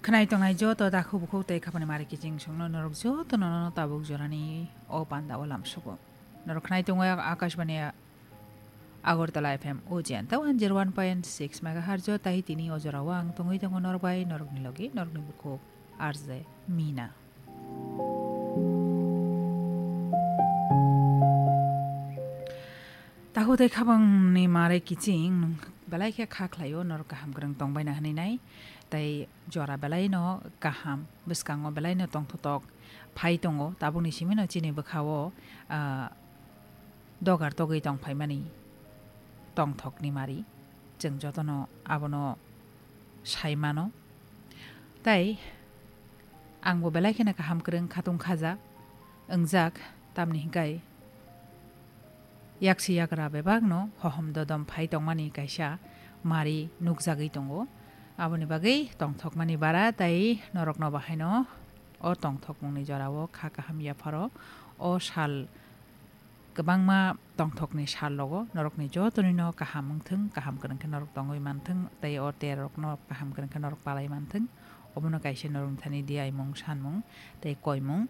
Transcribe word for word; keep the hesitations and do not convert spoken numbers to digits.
Khwnai tongnai joto takhuk bukhuk tei khapani mari kiching songno norok joto nono tabuk jorani o panda o lamsugo. Norok khwnai tongo Akashbani Agartala F M o jenta one zero one point six megahertz o tai tini o jorao ang tongwi tongo norok bai norokni logi norokni bukhuk R J Mina. Takhuk tei khabangni mari kiching nwng belai khe kha khlaio norok kaham kwrwng tongbaina hwnwi nai. Tei jora belaino kaham, bwskango belaino tongthotok phai tongo, tabukni simino chini bwkhao, ah, dogar togwi tongphaimani tongthokni mari. Chwng jotono abono sai mano. Tei angbo belai kheno kaham kwrwng khatung khaja wngjak, tamni hwnkhe yaksi yagra bebakno hohom dodom phai tongmani kaisa mari nukjagwi tongo. Aboni bagwi tongthokmani bara tei norokno bahaino o tongthokmungni jorao kha kaham yapharo o sal kwbangma tongthokni sal rogo norokni jotonino kaham wngthwng, kaham kwrwng khe norok tongwi manthwng tei o terrorokno kaham kwrwng khe norok palai manthwng. Obono kaisa norokni thani diaimung, sanmung tei koimung.